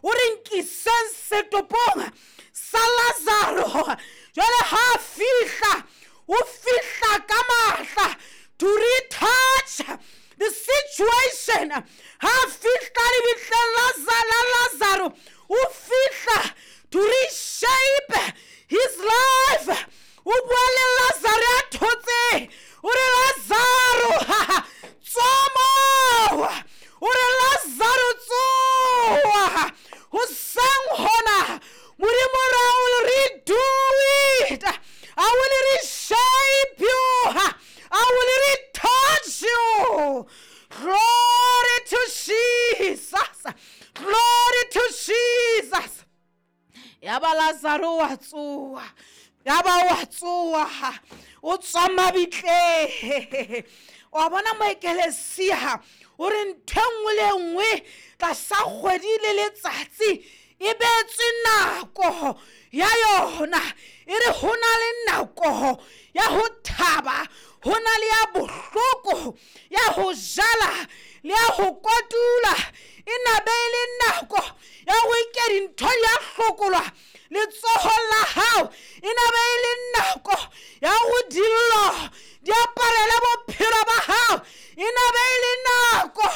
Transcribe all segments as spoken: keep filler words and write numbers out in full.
O re nkiseng setopong sa Lazaro. Jwale ha fihla, o fihla ka matla to retouch the situation. Ha fihla lebitleng la Lazaro, o fihla to reshape his life. O bua le Lazaro ya thotseng, o re Lazaro tswa moo, o re Lazaro tsoa. Hoseng hona Modimo re, I will redo it, I will reshape you, I will retouch you. Glory to Jesus, glory to Jesus. Ya ba Lazaro wa tsoa, ya ba wa tsoa, o tswa mabitleng. Wa bona moekelesia o re ntho e nngwe le nngwe tlasa kgwedi le letsatsi e beetswe nako ya yona. E re ho na le nako ya ho thaba, ho na le ya bohloko, ya ho jala le ya ho kotula. E nabe e le nako ya go ike dintho di a hlokolwa letsohong la hao, e nabe e le nako ya go dillo di aparele bophelo ba hao, e nabe e le nako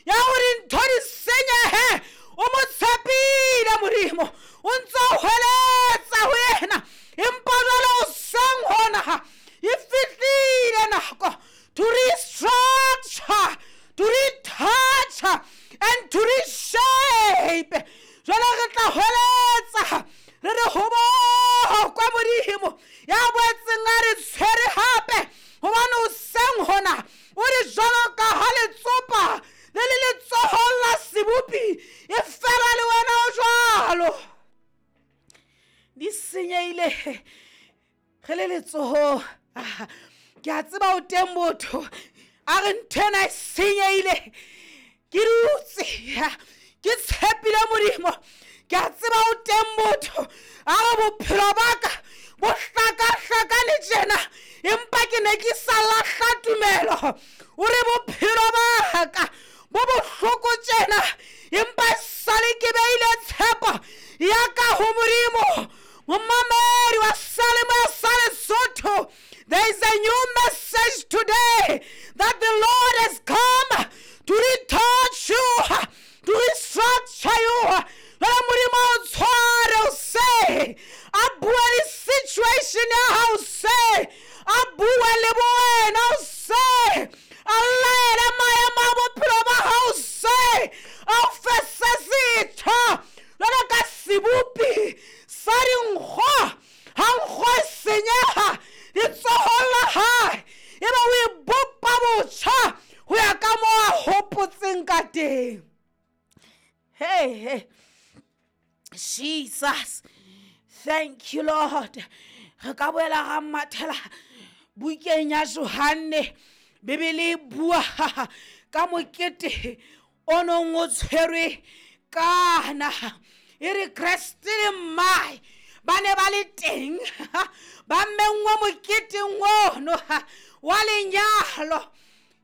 ya go dintho di senyehe. O mo tshepile Modimo, o ntse o hweletsa ho yena, empa jwale o seng hona e fihlile nako to restructure, to retouch and to reshape. Jwale re tla hweletsa re re ho bokwa Modimo ya boetseng a re tshwere hape, hobane o seng hona o re jwalo ka ha letsopa le le letsohong la sebopi, e fela le wena o jwalo. Di senyehile ge le letsohong. Ke a tseba o teng motho a re ntho ena e senyehile, ke dutse ke tshepile Modimo. Ke a tseba o teng motho a re bophelo ba ka bo hlakahlakane tjena, empa ke ne ke sa lahla tumelo. O re bophelo ba ka bo bohloko tjena, empa sale ke beile tshepo ya ka ho Modimo. Momamedi wa Salemo ya sa Lesotho, there is a new message today that the Lord has come to retouch you, to restructure you. Jwale Modimo o tshware o se a bue le situation ya hao, se a bue le wena, o se a laele maemo a bophelo ba hao, se a o fe se setjha jwalo ka sebopi sa dinkgo. Ha nkgo e senyeha letsohong la hae, ebe o e bopa botjha ho ya ka moo a hopotseng ka teng. Hey, hey. Jesus, thank you Lord. Re ka boela ra mathela bukeng ya Johanne. Bibele e bua ka mokete o nong o tshwerwe kana. E re Kreste le mmae ba ne ba le teng, ba menngwe moketeng ono wa lenyalo.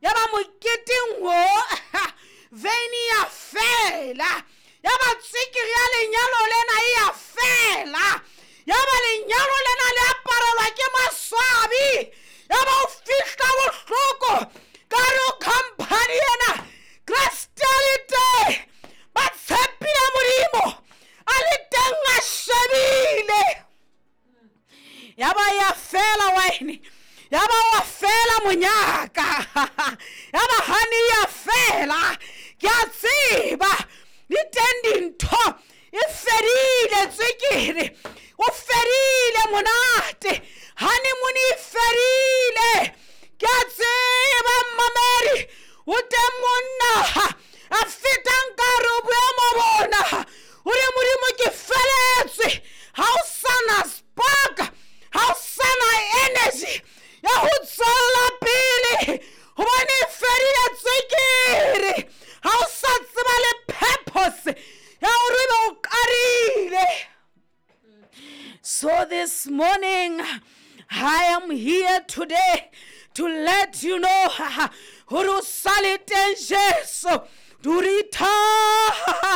Ya ba moketeng o veine ya fela, ya ba tsikiri ya lenyalo lena e ya fela, ya ba lenyalo lena le aparelwa ke maswabi, ya ba o fihla bohloko ka re o company ena. Kreste a le teng, ba tshepile Modimo a le teng a shebile. Ya ba ya fela wine, ya ba wa fela monyaka, ya ba honey ya fela. Ke a tseba di teng dintho e fedile tswekere, o fedile monate, honeymoon e fedile. Ke a tseba mmamedi o teng monna a fetang ka re o boemo bona, o re Modimo ke feletswe, ha o sana spark, ha o sana energy ya ho tswella pele, hobane e fedile tswekere. Ha o sa tseba le purpose ya hore ebe o qadile. So this morning I am here today to let you know hore o sa le teng Jesu to retouch